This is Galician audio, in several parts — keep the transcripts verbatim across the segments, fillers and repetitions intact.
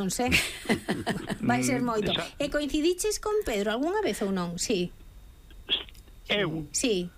non sei. Vai ser moito. E coincidiches con Pedro algunha vez ou non? Sí. Eu? Sí.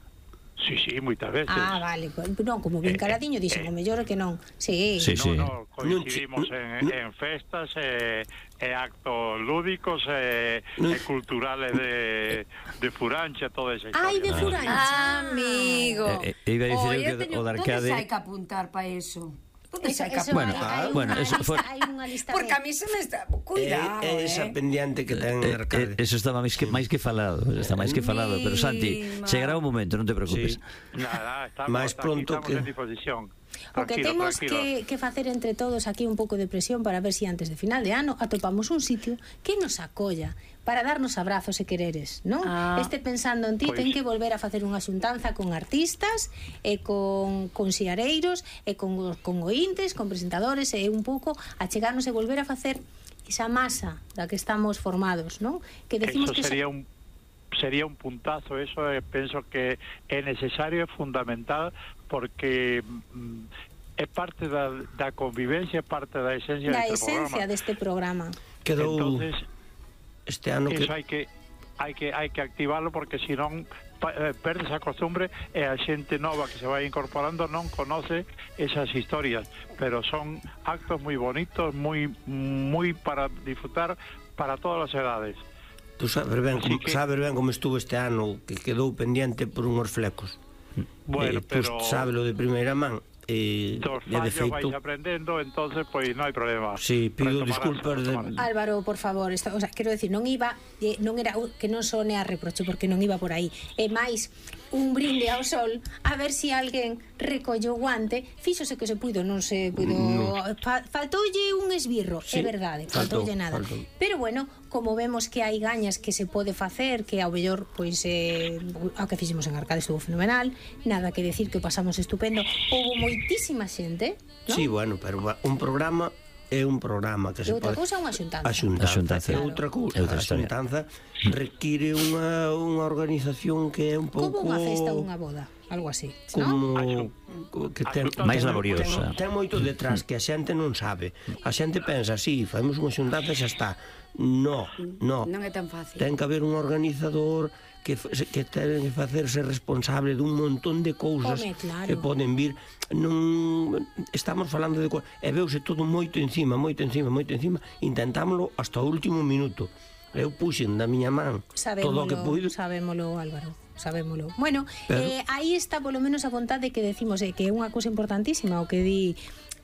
Sí, sí, moitas veces. Ah, vale, non, como ben caladiño dixen, o mellor é que non. Sí. Sí, sí. No, no, coincidimos en, en festas e, e actos lúdicos e, e culturales de, de Furancha, toda esa historia. Ai, de Furancha. Ah, amigo. Eh, eh, iba a dicir Oh, eu que teño, o de Arcade... ¿dónde hai que apuntar para eso? ¿Dónde Eso, hai que eso, Bueno, hai, hai bueno, unha eso lista, for- hai unha lista Porque de... a mí se me está... Cuidado, É esa eh. pendiente que ten Eh, Arcade. eh, eso estaba máis que máis que falado, está máis que falado, pero Santi, Mima. chegará un momento, non te preocupes. Sí. Nada, estamos, Máis pronto estamos que- en disposición. O que Tranquilo, temos tranquilo. que, que facer entre todos aquí un pouco de presión para ver si antes de final de ano atopamos un sitio que nos acolla para darnos abrazos e quereres, non? Ah. Este pensando en ti Pois. ten que volver a facer unha xuntanza con artistas e con, con xiareiros e con, con ointes, con presentadores e un pouco a chegarnos e volver a facer esa masa da que estamos formados, non? Que decimos Eso que sería un sería un puntazo, eso eh, penso que é necesario, é fundamental, porque mm, é parte da, da convivencia, é parte da esencia da deste esencia programa. deste programa. Quedou Entonces, este ano que... eso hai que hai que hai que activarlo, porque senón pa- eh, perdes a costumbre e a xente nova que se vai incorporando non conoce esas historias, pero son actos moi bonitos, moi moi para disfrutar para todas as edades. Tú sabes ben, Así como, que- sabes ben como estuvo este ano, que quedou pendiente por unhos flecos. Bueno, eh, tú pero sábelo de primeira man. Eh, dos e de fallos feito, vais aprendendo, entonces pois non hai problema. Sí, pido Retomarás, disculpas de- retomarás. Álvaro, por favor, esta, o sea, quero decir, non iba eh, non era que non sone a reproche porque non iba por aí. E máis un brinde ao sol a ver se si alguén recollou o guante, fíxose que se puido, non se puido, No. fa, faltoulle un esbirro, Sí, é verdade, faltou, faltoulle nada. faltou. Pero bueno, como vemos que hai gañas que se pode facer, que ao mellor pois eh, ao que fixemos en Arcade estuvo fenomenal, nada que decir que o pasamos estupendo. Houbo moitísima xente, non? Sí, bueno, pero un programa é un programa que E se outra pode... cousa é unha xuntanza. A xuntanza, A xuntanza. é outra cousa. É outra A historia. xuntanza require unha, unha organización que é un pouco... Como unha festa ou unha boda, algo así, non? Como que ten, Máis ten- laboriosa. ten, ten moito detrás que a xente non sabe. A xente pensa, sí, facemos unha xuntanza e xa está. No, no. Non é tan fácil. Ten que haber un organizador que, f- que ten que facerse responsable dun montón de cousas Home, claro. que poden vir. Non estamos falando de co- e veuse todo moito encima, moito encima, moito encima. Intentámoslo hasta o último minuto. Eu puxen da miña man todo o que puido. Sabémolo, Álvaro, sabémolo. Bueno, Pero- eh, aí está polo menos a vontade que decimos eh, que é unha cousa importantísima o que di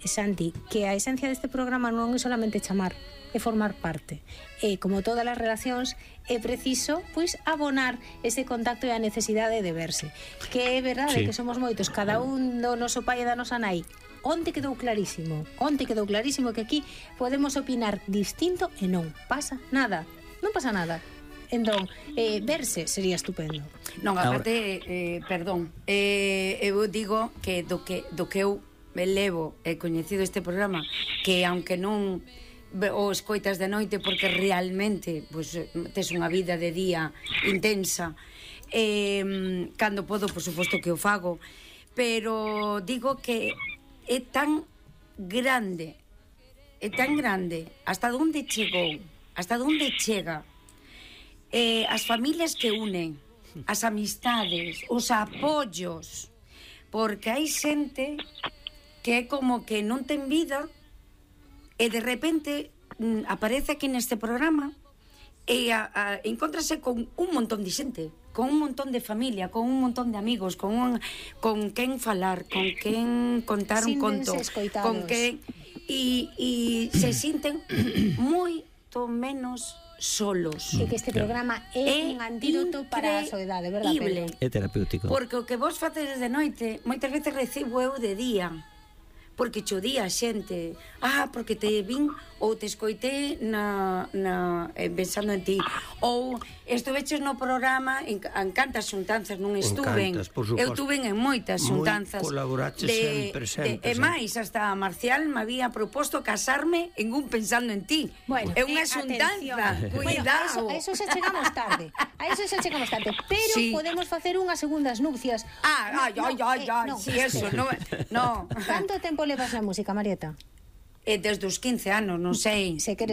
Santi, que a esencia deste programa non é solamente chamar, é formar parte. E como todas as relacións é preciso pois abonar ese contacto e a necesidade de verse. Que é verdade Sí. que somos moitos, cada un do noso pai e da nosa nai. Onte quedou clarísimo, onte quedou clarísimo que aquí podemos opinar distinto e non pasa nada. Non pasa nada. Entón, eh, verse sería estupendo. Non, aparte, eh, perdón, eh, eu digo que do que do que eu me levo e coñecido este programa, que aunque non ve- o escoitas de noite porque realmente pues, tes unha vida de día intensa, eh, cando podo, por suposto que o fago, pero digo que é tan grande, é tan grande, hasta onde chegou, hasta onde chega, eh, as familias que unen, as amistades, os apoios, porque hai xente que é como que non ten vida e de repente mm, aparece aquí neste programa e a, a, encontrase con un montón de xente, con un montón de familia, con un montón de amigos, con un, con quen falar, con quen contar un conto, Síntense escoitados. con quen e, e se sinten moito menos solos. E que este programa é, É un antídoto para a soedade, verdad, increíble. Pedro? É terapéutico. Porque o que vos facedes de noite moitas veces recibo eu de día, porque cho día a xente, ah, porque te vin ou te escoitei na, na, eh, pensando en ti, ou estuveches no programa en, en cantas xuntanzas non estuven, cantas, por suposto. eu tuven en moitas Moi xuntanzas colaboraches sempre, sempre, de, e sempre. máis, hasta Marcial me había proposto casarme en un pensando en ti. Bueno, é unha eh, xuntanza, atención. cuidado. Bueno, a eso, a eso xa chegamos tarde. A eso xa chegamos tarde, pero Sí. podemos facer unhas segundas nupcias. Ah, ay, No, ay, no, ay, eh, ay, no. si eso, no, no. Canto tempo levas na música, Marieta? Eh, desde os quince anos, non sei. Se queres